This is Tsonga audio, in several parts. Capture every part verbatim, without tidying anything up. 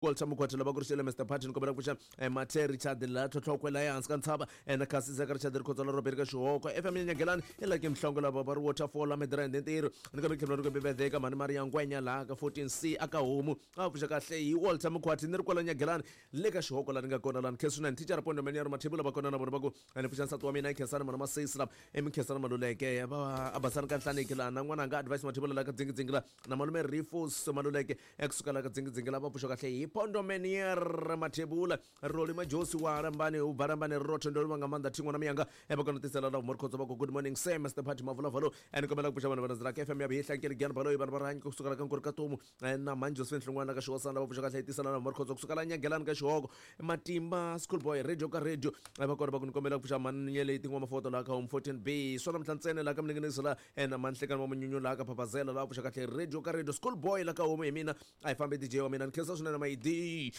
Walter Mukwatela lava ku ri xele Mister Patton kombela ku pfuxa Mathe Richard la tlhotlhokwe la ehansi ka ntshava na Kasi Zaka Richard Rikhotso la Robert ka Xihoko F M Nyagelani i Lucky Mhlongo lava va ri Waterfall la Midrand ntirho ni kambe tlhelo ri bebedeka mhani Maria Ngwenya laha ka fourteen C aka homu a pfuxa kahle hi Walter Mukwati ni ri kwala Nyagelani le ka Xihoko la ni nga kona lani Khensani teacher Pondo Mani ya ri Mathebula va kona na vona va ku ni pfuxa nsati wa mina Khensani mana Masesi la emikhensani Maluleke va abasani ka Nhlaneki la na n'wana nga Advice Mathebula la ka Dzingidzingi la na malume Rifus Maluleke ekusuka la ka Dzingidzingi la va pfuxa kahle hi Pondo Menier Mathebula Roli Majosi wa Rambani u Barambani Rotho ndo nga manda thingo na miyanga e va kona tisela la Morkhotso va ku good morning sir Mister Party Mavula valo and kombela ku pfuxa vanhu va ndzela ka F M ya bihla nkeli gyana balo vanhu va rhanyi kusuka la ka Nkuri ka Tomu na Manjo Sven Hlongwana ka Xihosana va pfuxa kahle tisela la Morkhotso kusuka la Nyagelani ka Xihoko Matimba School Boy Radio ka Radio va kona va ku kombela ku pfuxa manyele tin'wana mafoto la ka Home fourteen B swona mhlantsene la ka mninginisi la na manhlekani wa munyunyu la ka Papazela la pfuxa kahle Radio ka Radio School Boy la ka Home hi mina a hi fambi D J wa mina ni khensa swinene ma D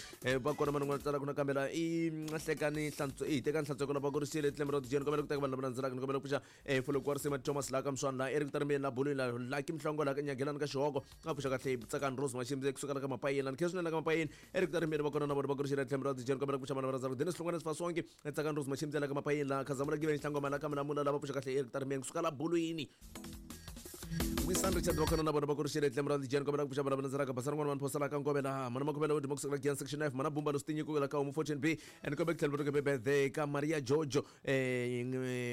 va kona vanhu n'wana tsala ku na kambela i hlekani hlantswo i teka hlantswo la va ku ri xile tlembe ra D J ni kombela ku teka vanhu lava landzelaka ni kombela ku pfuxa eh Folokwa Risima Thomas la ka Mswana la Eric Tarmbeni la Bulweni la Lucky Mhlongo la ka Nyagelani ka Xihoko a pfuxa kahle Tsakani Rose Mashimbe kusuka la ka Mapayeni la ni khensa swinene la ka Mapayeni Eric Tarmbeni va kona na vona va ku ri xile tlembe ra D J ni kombela ku pfuxa vanhu lava landzelaka Dennis Hlongwane Sifasonke Tsakani Rose Mashimbe la ka Mapayeni la Khazamula Giveni Hlangoma la ka Mlamula la va pfuxa kahle Eric Tarmbeni kusuka la Bulweni Wisan Richard va kona na vona va ku ri xile tlembe ra D J ni kombela ku pfuxa vanhu lava landzelaka Basana n'wana vanhu phosela ka Ngovela mana Makhuvela wo dima kusuka la Gian section F mana Bumba Lostinyi ku la ka Home fourteen B and kombela ku tlhela va birthday ka Maria Jojo eh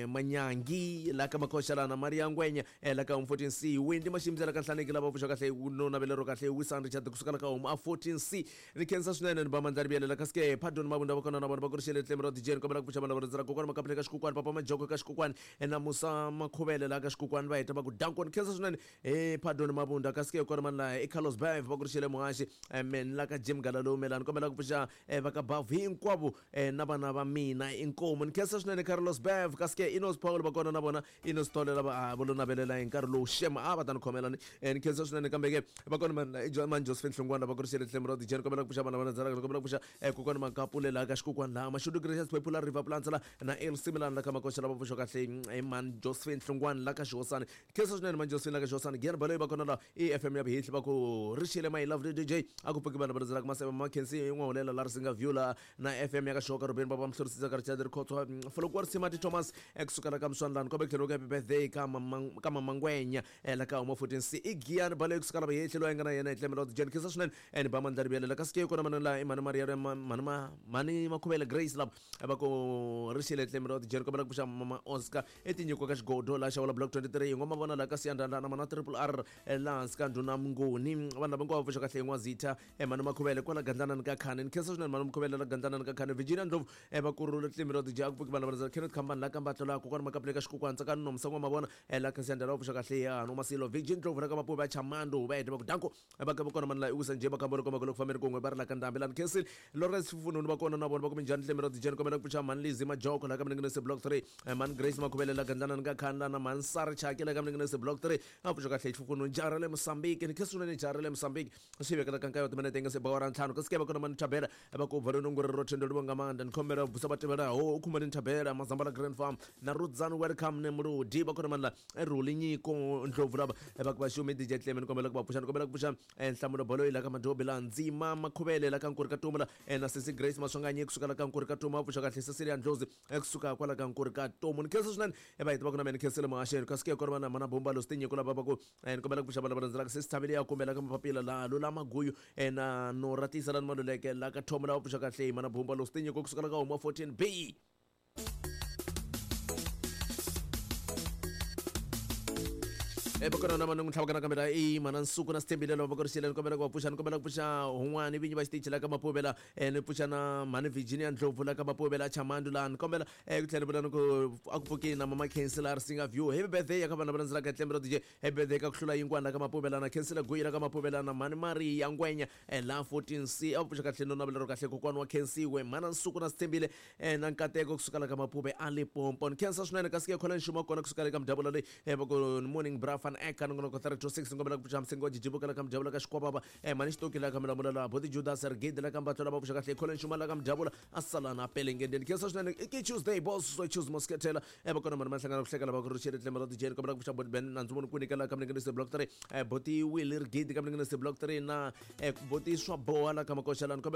Manyangi la ka Makhoxalana Maria Ngwenya la ka Home fourteen C Wendy Mashimbe la ka Nhlaneki lava pfuxa kahle no navelero kahle Wisan Richard kusuka la ka Home a fourteen C ni khensa swinene ni ba mandlari biyele la ka ske Pardon Mabunda va kona na vona va ku ri xile tlembe ra D J ni kombela ku pfuxa vanhu lava landzelaka kokwana Makapele ka Xikukwani Papa Majoko ka Xikukwani na Musa Makhuvele la ka Xikukwani va heta va ku dankon khensa swinene eh Pardon Mabunda ka ske kona man la e Carlos Bav va ku ri xile muhaxi men la ka Jim Galalo melani kombela ku pfuxa va ka Bav hinkwavo na vana va mina inkomu ni khensa swinene Carlos Bav ka ske Inos Paul va kona na vona Inos Tole lava vo lo navelela hi nkarhi lowu shema a va ta ni khomela ni ni khensa swinene kambe ke va kona man la man Josephine Hlongwana va ku ri xile tlembe ra D J ni kombela ku pfuxa vana va landzelaka kombela ku pfuxa kokwana Makapule la ka Xikukwani la Mashudu Gracious Popular River Plants la na El Similana la ka Makoxa lava pfuxa kahle man Josephine Hlongwana la ka Xihosana khensa swinene man Josephine la ka Xihosana Giyani Baloyi va kona la E F M ya bihihli va ku ri xile my lovely D J a ku pfuki vanhu va landzelaka Masebe Makhensi n'wahulela la Risinga View la na F M ya ka Xihoko Rubeni va va Mhlorisisa ka Richard Rikhotso Folokwa Risima Thomas ekusuka la ka Mswana lani kombe tlhelo ka happy birthday ka mama ka mama Ngwenya la ka Home fourteen C i Giyani Baloyi kusuka la bihihli loyi nga na yena hi tlembe ra D J ni khensa swinene and ba mandlari biyele la ka ske kona mana la Mani Maria Mani Mani Makhuvele Grace la va ku ri xile tlembe ra D J ni kombela ku pfuxa mama Oscar etinyiko ka Xigodo la Xawula Block twenty-three ngoma vona la ka Siyandanda na mana Triple R la hansi ka Ndhuna Mnguni vanhu lava hinkwavo pfuxa kahle N'wazitha Mani Makhuvele kwala Gandlanani ka Khani ni khensa swinene Mani Makhuvele la Gandlanani ka Khani Virginia Ndlovu va kurhula tlembe ra D J a ku pfuki vanhu lava Kenneth Khambani la ka Mbatlo la kokwana Makapele ka Xikukwani Tsakani Nomsa n'wa mavona la ka Siyandanda va pfuxa kahle ya no Masilo Virgin Ndlovu la ka Mapuve va Chamando va heta va ku danko va ka kona mani la Iwisa nje va kambolo koma loko fambeni kun'we va ri la ka Ndhambi la ni khensile Lawrence Fununu va kona na vona va ku minjhani tlembe ra D J ni kombela ku pfuxa Mani Lizzy Majoko la ka Mninginisi Block three Mani Grace Makhuvele la Gandlanani ka Khani la na Mani Sari Chaki la ka Mninginisi Block three a pfuxa kahle Xifukunu jara le Mozambique ni khensa swinene jara le Mozambique swi vekela ka nkayo timinete nga se bawara ntlhanu ka ske va kona Mani Thabela va ku vhalo nongori ro thendo livonga manda ni khombela busa va tivela ho u khumani Thabela Mazambala Grand Farm na Rudzani welcome ne Murudi va kona mani la Ruli Nyiko Ndlovu lava va ku va xumi D J Tleme ni kombela ku va pfuxa ni kombela ku pfuxa Nhlamulo Baloyi la ka Madobi la Ndzima Makhuvele la ka Nkuri ka Tomu la na Sisi Grace Maswanganyi kusuka la ka Nkuri ka Tomu va pfuxa kahle Cecilia Ndlozi kusuka kwala ka Nkuri ka Tomu ni khensa swinene va heta va ku na mina ni khensile muhaxeni ka ske kona mana mana Bomba Lostinyiko lava va ku ni kombela ku pfuxa vanhu lava landzelaka Sisi Thabile ya kumbela ka Mapapila la Lula Maguyu na Noratisa la Maluleke la ka Thomo lava pfuxa kahle mana Bomba Lostinyiko kusuka la ka Home fourteen B e va kona na mani n'wi tlhavaka nakambe la i mana Nsuku na Sithembile lava va ku ri xile ni kombela ku va pfuxa ni kombela ku pfuxa hun'wani vinyi va xitichi la ka Mapuvela ni pfuxa na Mhani Virginia Ndlovu la ka Mapuvela Chamandu la ni kombela ku tlhela ni vula ni ku a ku pfukini na Mama Khensi la Risinga View happy birthday ya ka vanhu lava landzelaka tlembe ra D J happy birthday ka ku hlula yin'wana la ka Mapuvela na Khensile Guyi la ka Mapuvela na Mhani Maria Ngwenya la fourteen C a pfuxa kahle no navelero kahle kokwana wa Khensiwe Mhana Nsuku na Sithembile na Nkateko kusuka la ka Mapuve a Limpopo ni khensa swinene kasi ke khona nxuma kona kusuka le ka mudabula leyi va ku morning bra Van Eck nongonoko three two six ngombela ku pfuxa msingo jijibuka la ka mujabula ka xikwababa eh mani xitoki la ka milamula la boti Judas Rigidi la ka mbatlo la va pfuxa kahle Colin Xuma la ka mujabula asalana pelengendeni khensa swinene i Tuesday boss so choose Mosquetela eh va kona mani mahlangana ku hleka lava ku ri xiri tlema ra D J kombela ku pfuxa boti Ben nandzu voni ku nyikela ka mninginisi block three eh boti Willie Rigidi ka mninginisi block three na eh boti swa boha la ka makoxelani kombela.